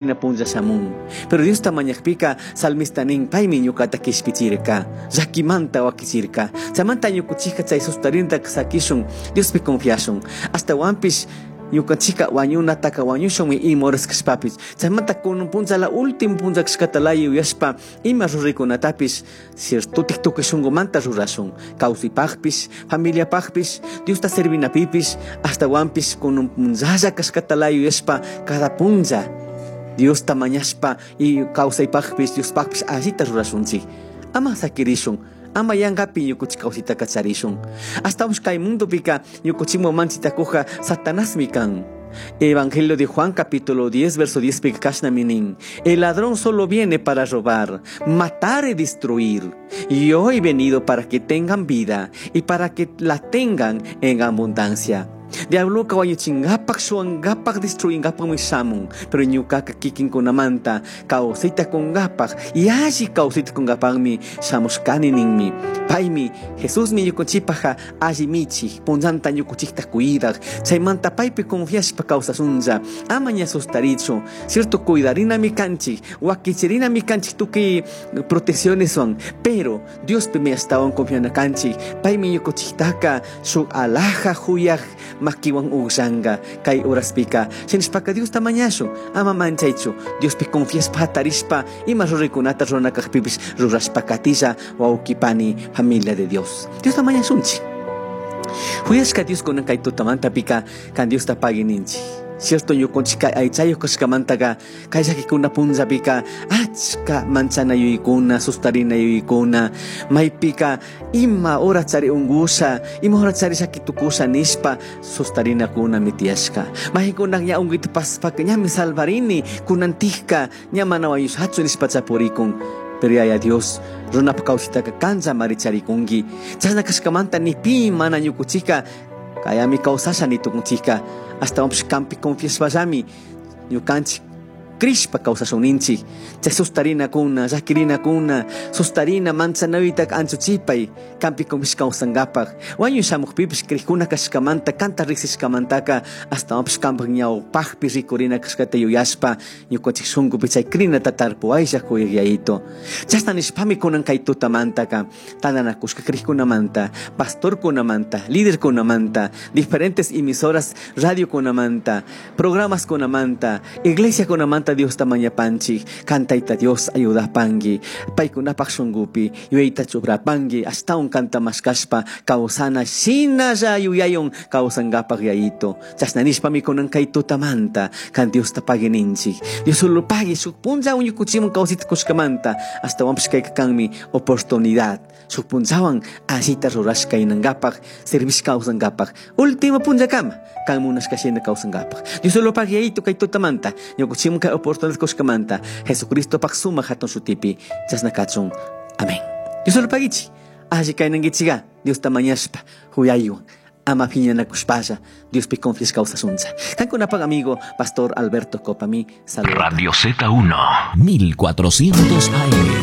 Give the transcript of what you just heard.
Punlla shamun. Pero Diosta mañajpika salmista nin paymi ñuqata kishpichirka, llakimanta wakichirka. Chaymanta ñukuchika chay sustarinta sakishun, Diospi confiashun. Ashtawanpish ñukanchika wañunataka wañushunmi ima horas kashpapish. Chaymanta kunan punlla la último punlla kashkata laya yuyashpa ima ruraykunatapish ciertotik tukuy shunqumanta rurashun. Kawsaypaqpish, familiapaqpish, Diosta servinapipish, ashtawanpish kunan punllalla kashkata laya yuyashpa cada punlla Diosta mañashpa y kawsaypaqpish, Diospaqpish allita rurashunchik. Ama sakirishun, ama yanqapi ñukuchik kawsaytaka charishun. Ashtawanpish kay mundopika ñukuchikman manchitakuqqa Satanasmi kan. Evangelio de Juan capítulo 10 verso 10 pika kashnami nin: El ladrón solo viene para robar, matar y destruir. Yo he venido para que tengan vida y para que la tengan en abundancia. Diabloka wañuchingapak, shuwangapak, destruyingapakmi shamun. Pero ñukaka kikinkunamanta kawsayta kungapak y alli kawsayta kungapakmi shamushkani ninmi. Paymi Jesusmi ñukanchikpajka alli michik, punllanta ñukanchikta cuidak. Chaymanta paypi confiashpa kawsashunlla. Ama ña sustarichu. Cierto, cuidarinami kanchik, wakichirinami kanchik tukuy proteccioneswan. Pero Diospimi ashtawan confiana kanchik. Paymi ñukanchiktaka shuk alaja juyaj makiwan uqllanka kay horaspika. Shinashpaka Diosta mañashun, ama manchaychu. Diospi confiashpa hatarishpa ima ruraykunata rurana kajpipish rurashpa katilla, wawqi pani, familia de Dios. Diosta mañashunchik. Juyashka Dios kunan kay tutamantapika kan Diosta pagui ninchik. Cierto ñukunchik kay aychayuq kashkamantaka kay llakikuna punllapika achka manchana yuyaykuna, sustarina yuyaykuna, maypika ima hora chari unkusha, ima hora chari llaki tukusha nishpa sustarinakuna tiyashka. Maykunak ña unkuyta pasapaka ñami salvarini, kunantikka ña mana wañushachu nishpa chapurikun. Pero Yaya Dios, runapa kawsaytaka kanllamari charikunki. Chashna kashkamanta ni pi mana ñukuchika kayami kawsasha ni tukunchika. Ashtawanpish kanpi confiashpallami ñukanchik crishpa kawsashun ninchik. Chay sustarinakuna, llakirinakuna, sustarina manchanaytaka anchuchipay kanpi confiashpa kawsankapak. Wañuy shamukpipish crikuna kashkamanta, kanta riksishkamantaka ashtawanpish kanpak ñawpakpi rikurina kashkata yuyashpa ñukanchik shunkupi chay crinata tarpuwaylla kuyaq Yayito. Chashna nishpami kunan kay tutamantaka tantanakushka crikkunamanta, pastorkunamanta, liderkunamanta, diferentes emisoras radiokunamanta, programaskunamanta, iglesiakunamanta Diosta mañapanchik, kan Tayta Dios ayudapanki, paykunapak shunkupi yuyayta chuprapanki, ashtawan kanta mashkashpa kawsana shinalla yuyaywan kawsankapak Yayito. Chashna nishpami kunan kay tutamanta kan Diosta pagui ninchik. Dios solo pagui shuk punlla ñukuchikman kawsayta kushkamanta, ashtawanpish kayka kanmi oportunidad. Shuk punllawan allita rurashka inankapak, servishka kawsankapak, último punllakama kan munashka shina kawsankapak. Dios solo pagui Yayito kay tutamanta, ñukuchikman kay oportunidad kushkamanta, Jesucristopak sumak hatun shutipi, chashna kachun. Amén. Dios solo paguichi. Alli kaynankichiga, Diosta mañashpa, huyaywan, ama phiñanakushpalla, Diospi confiashka kawsashuncha. Kankunapak amigo, Pastor Alberto Copami, saludos. Radio Z1, 1400 AM.